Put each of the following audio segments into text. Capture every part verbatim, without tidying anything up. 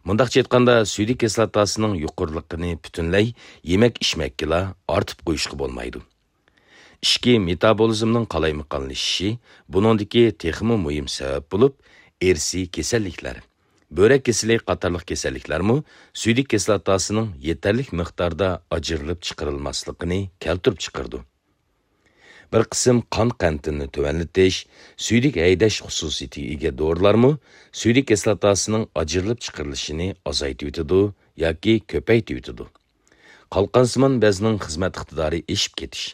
مۇنداقچە ئېيتقاندا، سۈيدۈك كىسلاتاسىنىڭ يۇقىرىلىقىنى پۈتۈنلەي يېمەك-ئىچمەككىلا ئارتىپ قويۇشقا بولمايدۇ. ئىچكى مېتابولىزمنىڭ قالايمىقانلىشىشى، بۇنىڭدىكى تېخىمۇ مۇھىم سەۋەب بولۇپ، ئىرسىي كېسەللىكلەر، بۆرەك كېسىلى قاتارلىق كېسەللىكلەرمۇ سۈيدۈك كىسلاتاسىنىڭ يېتەرلىك مىقداردا ئاجرىلىپ چىقىرىلماسلىقىنى كەلتۈرۈپ چىقىرىدۇ. بىر قىسىم قان قەنتىنى تۆۋەنلىتىش، سۈيدۈك ھەيدەش خۇسۇسىيىتىگە ئىگە دورىلارمۇ سۈيدۈك كىسلاتاسىنىڭ ئاجرىلىپ چىقىرىلىشىنى ئازايتىۋېتىدۇ ياكى كۆپەيتىۋېتىدۇ. قالقانسىمان بەزنىڭ خىزمەت ئىقتىدارى ئېشىپ كېتىش،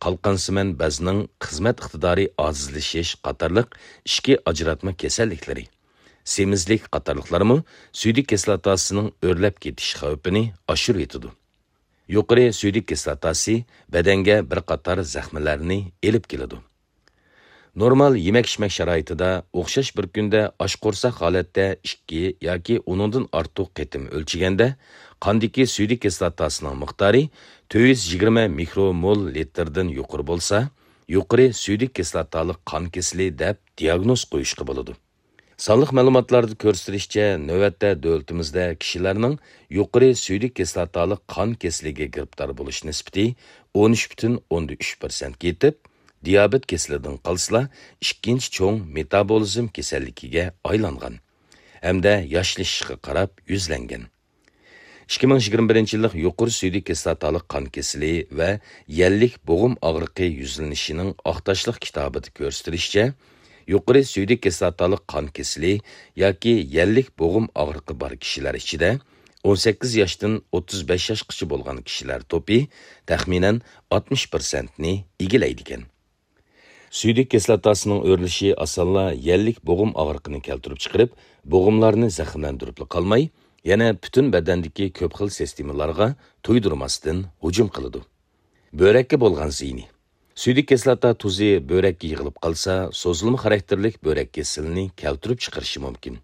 قالقانسىمان بەزنىڭ خىزمەت ئىقتىدارى ئاجىزلىشىش قاتارلىق ئىچكى ئاجراتما كېسەللىكلىرى، سېمىزلىك قاتارلىقلارمۇ سۈيدۈك كىسلاتاسىنىڭ ئۆرلەپ كېتىش خەۋپىنى ئاشۇرۇۋېتىدۇ. يۇقىرى سۈيدۈك كىسلاتاسى بەدەنگە بىر قاتار زەخمىلەرنى ئېلىپ كېلىدۇ. نورمال يېمەك-ئىچمەك شارائىتىدا ئوخشاش بىر كۈندە ئاچ قورساق ھالەتتە ئىككى ياكى ئۇنىڭدىن ئارتۇق قېتىم ئۆلچىگەندە، قاندىكى سۈيدۈك كىسلاتاسىنىڭ مىقدارى تۆت يۈز يىگىرمە مىكرومول لىتىردىن يۇقىرى بولسا، يۇقىرى سۈيدۈك كىسلاتالىق قان كېسىلى دەپ دىياگنوز قويۇشقا بولىدۇ. سانلىق مەلۇماتلاردا كۆرسىتىلىشىچە، نۆۋەتتە دۆلىتىمىزدە كىشىلەرنىڭ يۇقىرى سۈيدۈك كىسلاتالىق قان كېسىلىگە گىرىپتار بولۇش نىسبىتى ئون ئۈچ پۈتۈن ئوندىن ئۈچ پىرسەنتكە يېتىپ، دىيابېت كېسىلىدىن قالسىلا، ئىككىنچى چوڭ مېتابولىزم كېسەللىكىگە ئايلانغان ھەمدە ياشلىشىشقا قاراپ يۈزلەنگەن. ئىككى مىڭ يىگىرمە بىرىنچى يىللىق يۇقىرى سۈيدۈك كىسلاتالىق قان كېسىلى ۋە يەللىك بوغۇم ئاغرىقى يۈزلىنىشىنىڭ ئاختاشلىق كىتابىدا كۆرسىتىلىشىچە، يۇقىرى سۈيدۈك كىسلاتالىق قان كېسىلى ياكى يەللىك بوغۇم ئاغرىقى بار كىشىلەر ئىچىدە ئون سەككىز ياشتىن ئوتتۇز بەش ياشقىچە بولغان كىشىلەر توپى تەخمىنەن ئاتمىش پىرسەنتنى ئىگىلەيدىكەن. سۈيدۈك كىسلاتاسىنىڭ ئۆرلىشى ئاسانلا يەللىك بوغۇم ئاغرىقىنى كەلتۈرۈپ چىقىرىپ، بوغۇملارنى زەخىملەندۈرۈپلا قالماي، يەنە پۈتۈن بەدەندىكى كۆپ خىل سىستېمىلارغا تۇيدۇرماستىن ھۇجۇم قىلىدۇ. بۆرەككە بولغان زىيىنى. سۈيدۈك كىسلاتا تۇزى بۆرەككە يىغىلىپ قالسا، سوزۇلما خاراكتېرلىك بۆرەك كېسىلىنى كەلتۈرۈپ چىقىرىشى مۇمكىن.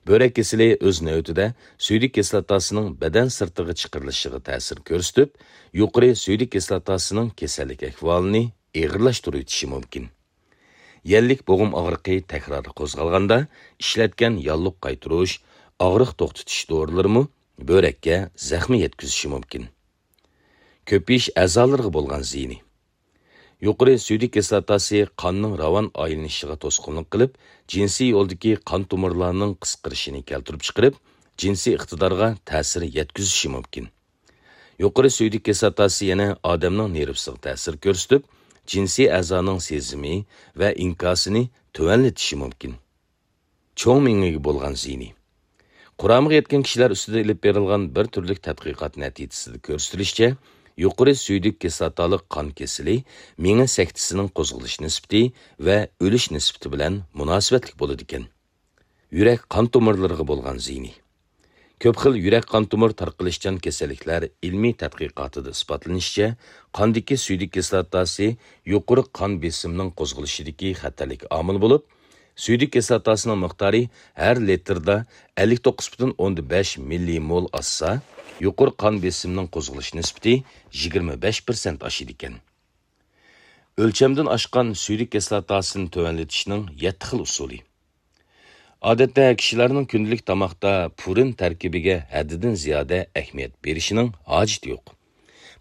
بۆرەك كېسىلى ئۆز نۆۋىتىدە سۈيدۈك كىسلاتاسىنىڭ بەدەن سىرتىغا چىقىرىلىشىغا تەسىر كۆرسىتىپ، يۇقىرى سۈيدۈك كىسلاتاسىنىڭ كېسەللىك ئەھۋالىنى ئېغىرلاشتۇرۇۋېتىشى مۇمكىن. يەللىك بوغۇم ئاغرىقى تەكرار قوزغالغاندا، ئىشلەتكەن ياللۇغ قايتۇرۇش، ئاغرىق توختىتىش دورىلىرىمۇ بۆرەككە زەخمە يەتكۈزۈشى مۇمكىن. كۆپىيىش ئەزالىرىغا بولغان زىيىنى. يۇقىرى سۈيدۈك كىسلاتاسى قاننىڭ راۋان ئايلىنىشىغا توسقۇنلۇق قىلىپ، جىنسىي يولدىكى قان تومۇرلارنىڭ قىسقىرىشىنى كەلتۈرۈپ چىقىرىپ، جىنسىي ئىقتىدارغا تەسىر يەتكۈزۈشى مۇمكىن. يۇقىرى سۈيدۈك كىسلاتاسى يەنە ئادەمنىڭ نېرۋىسىغا تەسىر كۆرسىتىپ، جىنسىي ئەزانىڭ سېزىمى ۋە ئىنكاسىنى تۆۋەنلىتىشى مۇمكىن. چوڭ مېڭىگە بولغان زىيىنى. قۇرامىغا يەتكەن كىشىلەر ئۈستىدە ئېلىپ بېرىلغان بىر تۈرلۈك تەتقىقات نەتىجىسىدە كۆرسىتىلىشىچە، يۇقىرى سۈيدۈك كىسلاتالىق قان كېسىلى مېڭە سەكتىسىنىڭ قوزغىلىش نىسبىتى ۋە ئۆلۈش نىسبىتى بىلەن مۇناسىۋەتلىك بولىدىكەن. يۈرەك قان تومۇرلىرىغا بولغان زىيىنى. كۆپ خىل يۈرەك قان تومۇر تارقىلىشچان كېسەللىكلەر ئىلمىي تەتقىقاتىدا ئىسپاتلىنىشىچە، قاندىكى سۈيدۈك كىسلاتاسى يۇقىرى قان بېسىمىنىڭ قوزغىلىشىدىكى خەتەرلىك ئامىل بولۇپ، سۈيدۈك كىسلاتاسىنىڭ مىقدارى ھەر لىتىردا ئەللىك توققۇز پۈتۈن ئوندىن بەش مىللىمول ئاشسا، يۇقىرى قان بېسىمىنىڭ قوزغىلىش نىسبىتى يىگىرمە بەش پىرسەنت ئاشىدىكەن. ئۆلچەمدىن ئاشقان سۈيدۈك كىسلاتاسىنى تۆۋەنلىتىشنىڭ يەتتە خىل ئۇسۇلى. ئادەتتە كىشىلەرنىڭ كۈندىلىك تاماقتا پۇرىن تەركىبىگە ھەددىدىن زىيادە ئەھمىيەت بېرىشىنىڭ ھاجىتى يوق.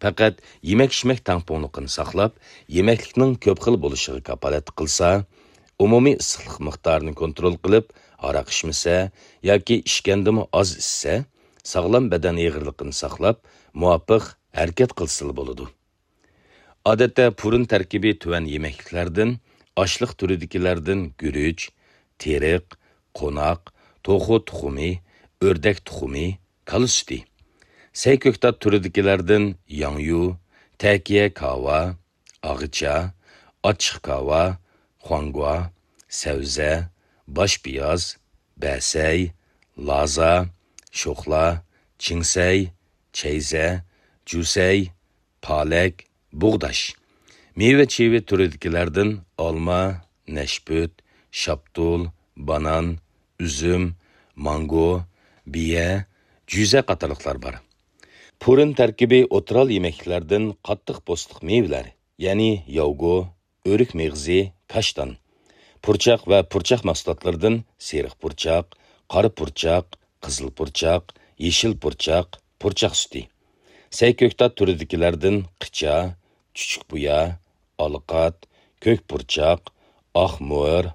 پەقەت يېمەك-ئىچمەك تەڭپۇڭلۇقىنى ساقلاپ، يېمەكلىكنىڭ كۆپ خىل بولۇشىغا كاپالەتلىك قىلسا، ئومۇمىي ئىسسىقلىق مىقدارىنى كونترول قىلىپ، ھاراق ئىچمىسە ياكى ئىچكەندىمۇ ئاز ئىچسە، ساغلام بەدەن ئېغىرلىقىنى ساقلاپ، مۇۋاپىق ھەرىكەت قىلسىلا بولىدۇ. ئادەتتە پۇرىن تەركىبى تۆۋەن يېمەكلىكلەردىن، ئاشلىق تۈرىدىكىلەردىن گۈرۈچ، تېرىق، قوناق، توخۇ تۇخۇمى، ئۆردەك تۇخۇمى، كالا سۈتى. سەي كۆكتات تۈرىدىكىلەردىن ياڭيۇ، تەكىيە كاۋا، ئاغىچا، ئاچچىق كاۋا، خۇاڭگۇا، سەۋزە، باش پىياز، بەسەي، لازا، شوخلا، چىڭسەي، چەيزە، جۈسەي، پالەك، بۇغداش. مېۋە-چېۋە تۈرىدىكىلەردىن ئالما، نەشپۈت، شاپتۇل، بانان، ئۈزۈم، مانگو، بىيە، جۈزە قاتارلىقلار بار. پۇرىن تەركىبى ئوتتۇرا ھال يېمەكلىكلەردىن قاتتىق پوستلۇق مېۋىلەر، يەنى ياۋگو، ئۆرۈك مېغىزى، كاشتان. پۇرچاق ۋە پۇرچاق مەھسۇلاتلىرىدىن سېرىق پۇرچاق، قارا پۇرچاق، قىزىل پۇرچاق، يېشىل پۇرچاق، پۇرچاق سۈتى. سەي كۆكتات تۈرىدىكىلەردىن قىچا، چۈچۈك بۇيا، ئالىقات، كۆك پۇرچاق، ئاق مۆر،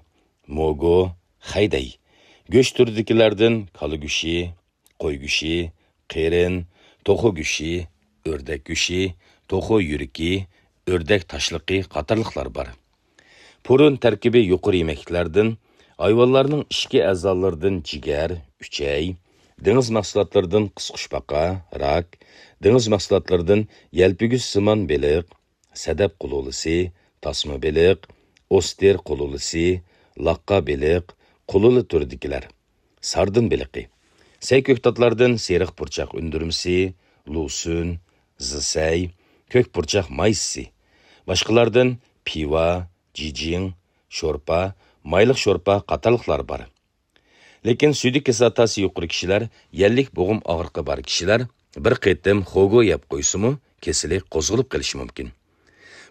موگو، خەيدەي. گۆش تۈرىدىكىلەردىن كالا گۆشى، قوي گۆشى، قېرىن، توخۇ گۆشى، ئۆردەك گۆشى، توخۇ يۈرىكى، ئۆردەك تاشلىقى قاتارلىقلار بار. پۇرۇن تەركىبى يۇقىرى يېمەكلىكلەردىن، ھايۋانلارنىڭ ئىچكى ئەزالىرىدىن جىگەر، ئۈچەي، دېڭىز مەھسۇلاتلىرىدىن قىسقۇچپاقا، راك، دېڭىز مەھسۇلاتلىرىدىن يەلپۈگۈچسىمان بېلىق، سەدەپ قۇلۇلىسى، تاسما بېلىق، ئوستېر قۇلۇلىسى، لاققا بېلىق، قۇلۇلە تۈرىدىكىلەر، ساردىن بېلىقى. سەي كۆكتاتلاردىن سېرىق پۇرچاق ئۈندۈرمىسى، لۇسۈن، زىسەي، كۆك پۇرچاق مايسىسى. باشقىلاردىن پىۋا، جىجىڭ، شورپا، مايلىق شورپا قاتارلىقلار بار. لېكىن سۈيدۈك كىسلاتاسى يۇقىرى كىشىلەر، يەللىك بوغۇم ئاغرىقى بار كىشىلەر بىر قېتىم خوگو يەپ قويسىمۇ، كېسىلى قوزغىلىپ قېلىشى مۇمكىن.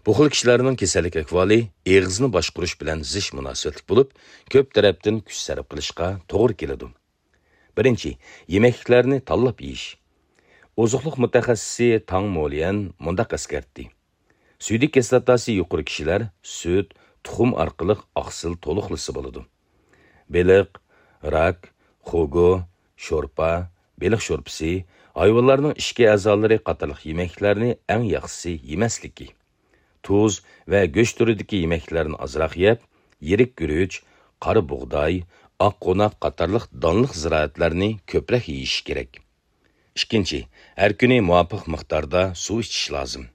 بۇ خىل كىشىلەرنىڭ كېسەللىك ئەھۋالى ئېغىزنى باشقۇرۇش بىلەن زىچ مۇناسىۋەتلىك بولۇپ، كۆپ تەرەپتىن كۈچ سەرپ قىلىشقا توغرا كېلىدۇ. بىرىنچى، يېمەكلىكلەرنى تاللاپ يېيىش. ئوزۇقلۇق مۇتەخەسسىسى تاڭ موليەن مۇنداق ئەسكەرتتى: سۈيدۈك كىسلاتاسى يۇقىرى كىشىلەر سۈت، تۇخۇم ئارقىلىق ئاقسىل تولۇقلىسا بولىدۇ. بېلىق، راك، خوگو، شورپا، بېلىق شورپىسى، ھايۋانلارنىڭ ئىچكى ئەزالىرى قاتارلىق يېمەكلىكلەرنى ئەڭ ياخشىسى يېمەسلىكى. تۇز ۋە گۆش تۈرىدىكى يېمەكلىكلەرنى ئازراق يەپ، يىرىك گۈرۈچ، قارا بۇغداي، ئاق قوناق قاتارلىق دانلىق زىرائەتلەرنى كۆپرەك يېيىش كېرەك. ئىككىنچى، ھەر كۈنى مۇۋاپىق مىقداردا سۇ ئىچىش لازىم.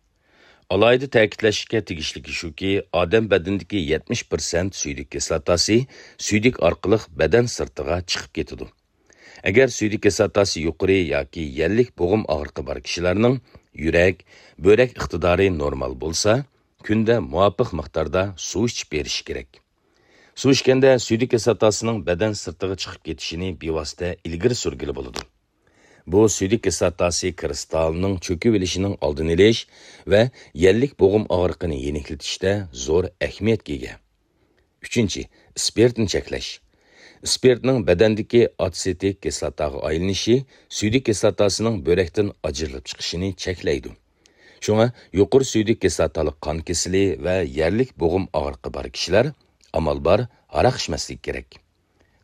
ئالاھىدە تەكىتلەشكە تېگىشلىكى شۇكى، ئادەم بەدىنىدىكى يەتمىش پىرسەنت سۈيدۈك كىسلاتاسى سۈيدۈك ئارقىلىق بەدەن سىرتىغا چىقىپ كېتىدۇ. ئەگەر سۈيدۈك كىسلاتاسى يۇقىرى ياكى يەللىك بوغۇم ئاغرىقى بار كىشىلەرنىڭ يۈرەك، بۆرەك ئىقتىدارى نورمال بولسا، كۈندە مۇۋاپىق مىقداردا سۇ ئىچىپ بېرىشى كېرەك. سۇ ئىچكەندە سۈيدۈك كىسلاتاسىنىڭ بەدەن سىرتىغا چىقىپ كېتىشىنى بىۋاسىتە ئىلگىرى سۈرگىلى بولىدۇ. بۇ سۈيدۈك كىسلاتاسى كىرىستالىنىڭ چۆكۈۋېلىشىنىڭ ئالدىنى ئېلىش ۋە يەللىك بوغۇم ئاغرىقىنى يېنىكلىتىشتە زور ئەھمىيەتكە ئىگە. ئۈچىنچى، ئىسپىرتنى چەكلەش. ئىسپىرتنىڭ بەدەندىكى ئاتسېتىك كىسلاتاغا ئايلىنىشى سۈيدۈك كىسلاتاسىنىڭ بۆرەكتىن ئاجرىلىپ چىقىشىنى چەكلەيدۇ. شۇڭا يۇقىرى سۈيدۈك كىسلاتالىق قان كېسىلى ۋە يەللىك بوغۇم ئاغرىقى بار كىشىلەر ئامال بار ھاراق ئىچمەسلىكى كېرەك.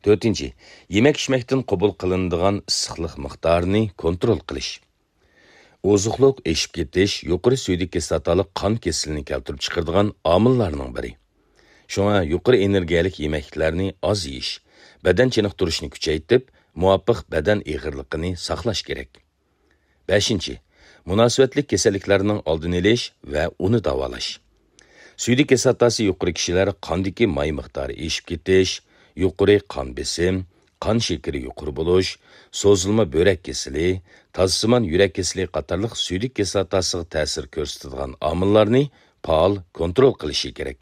تۆتىنچى، يېمەك-ئىچمەكتىن قوبۇل قىلىنىدىغان ئىسسىقلىق مىقدارىنى كونترول قىلىش. ئوزۇقلۇق ئېشىپ كېتىش يۇقىرى سۈيدۈك كىسلاتالىق قان كېسىلىنى كەلتۈرۈپ چىقىرىدىغان ئامىللارنىڭ بىرى. شۇڭا يۇقىرى ئېنېرگىيەلىك يېمەكلىكلەرنى ئاز يېيىش، بەدەن چېنىقتۇرۇشنى كۈچەيتىپ، مۇۋاپىق بەدەن ئېغىرلىقىنى ساقلاش كېرەك. بەشىنچى، مۇناسىۋەتلىك كېسەللىكلەرنىڭ ئالدىنى ئېلىش ۋە ئۇنى داۋالاش. سۈيدۈك كىسلاتاسى يۇقىرى كىشىلەر قاندىكى ماي مىقدارى ئېشىپ كېتىش، يۇقىرى قان بېسىم، قان شېكىرى يۇقىرى بولۇش، سوزۇلما بۆرەك كېسىلى، تازسىمان يۈرەك كېسىلى قاتارلىق سۈيدۈك كىسلاتاسىغا تەسىر كۆرسىتىدىغان ئامىللارنى پائال كونترول قىلىشى كېرەك.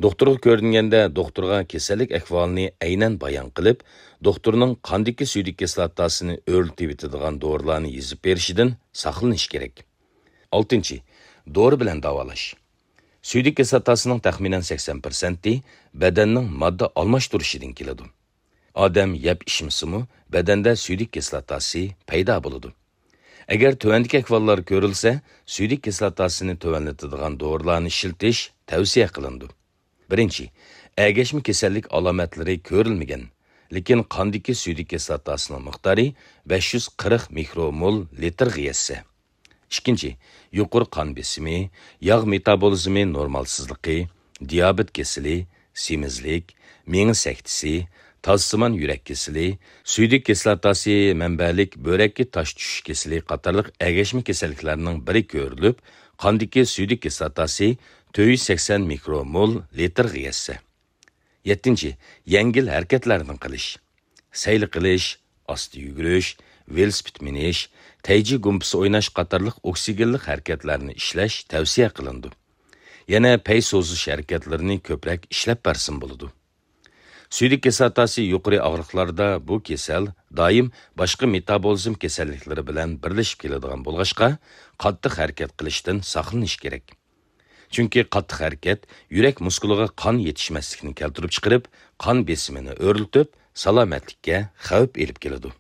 دوختۇرغا كۆرۈنگەندە، دوختۇرغا كېسەللىك ئەھۋالىنى ئەينەن بايان قىلىپ، دوختۇرنىڭ قاندىكى سۈيدۈك كىسلاتاسىنى ئۆرلىتىۋېتىدىغان دورىلارنى يېزىپ بېرىشىدىن ساقلىنىش كېرەك. ئالتىنچى، دورا بىلەن داۋالاش. سۈيدۈك كىسلاتاسىنىڭ تەخمىنەن سەكسەن پىرسەنتى بەدەننىڭ ماددا ئالماشتۇرۇشىدىن كېلىدۇ. ئادەم يەپ ئىچمىسىمۇ، بەدەندە سۈيدۈك كىسلاتاسى پەيدا بولىدۇ. ئەگەر تۆۋەندىكى ئەھۋاللار كۆرۈلسە، سۈيدۈك كىسلاتاسىنى تۆۋەنلىتىدىغان دورىلارنى ئىشلىتىش تەۋسىيە قىلىنىدۇ. بىرىنچى، ئەگەشمە كېسەللىك ئالامەتلىرى كۆرۈلمىگەن، لېكىن قاندىكى سۈيدۈك كىسلاتاسىنىڭ مىقدارى بەش يۈز قىرىق مىكرومول لىتىرغا يەتسە. ئىككىنچى، يۇقىرى قان بېسىمى، ياغ مېتابولىزمى نورمالسىزلىقى، دىيابېت كېسىلى، سېمىزلىك، مېڭە سەكتىسى، تازسىمان يۈرەك كېسىلى، سۈيدۈك كىسلاتاسى مەنبەلىك بۆرەككە تاش چۈشۈش كېسىلى قاتارلىق ئەگەشمە كېسەللىكلەرنىڭ بىرى كۆرۈلۈپ، قاندىكى سۈيدۈك كىسلاتاسى تۆت يۈز سەكسەن مىكرومول لىتىرغا يەتسە. يەتتىنچى، يەڭگىل ھەرىكەتلەرنى قىلىش. سەيلە قىلىش، ئاستا يۈگۈرۈش، ۋېلىسىپىت مىنىش، تەيجى گۇمپىسى ئويناش قاتارلىق ئوكسىگېنلىق ھەرىكەتلەرنى ئىشلەش تەۋسىيە قىلىنىدۇ. يەنە پەي سوزۇش ھەرىكەتلىرىنى كۆپرەك ئىشلەپ بەرسىمۇ بولىدۇ. سۈيدۈك كىسلاتاسى يۇقىرى ئاغرىقلاردا بۇ كېسەل دائىم باشقا مېتابولىزم كېسەللىكلىرى بىلەن بىرلىشىپ كېلىدىغان بولغاچقا، قاتتىق ھەرىكەت قىلىشتىن ساقلىنىش كېرەك. چۈنكى قاتتىق ھەرىكەت يۈرەك مۇسكۇلىغا قان يېتىشمەسلىكنى كەلتۈرۈپ چىقىرىپ، قان بېسىمىنى ئۆرلىتىپ، سالامەتلىككە خەۋپ ئېلىپ كېلىدۇ.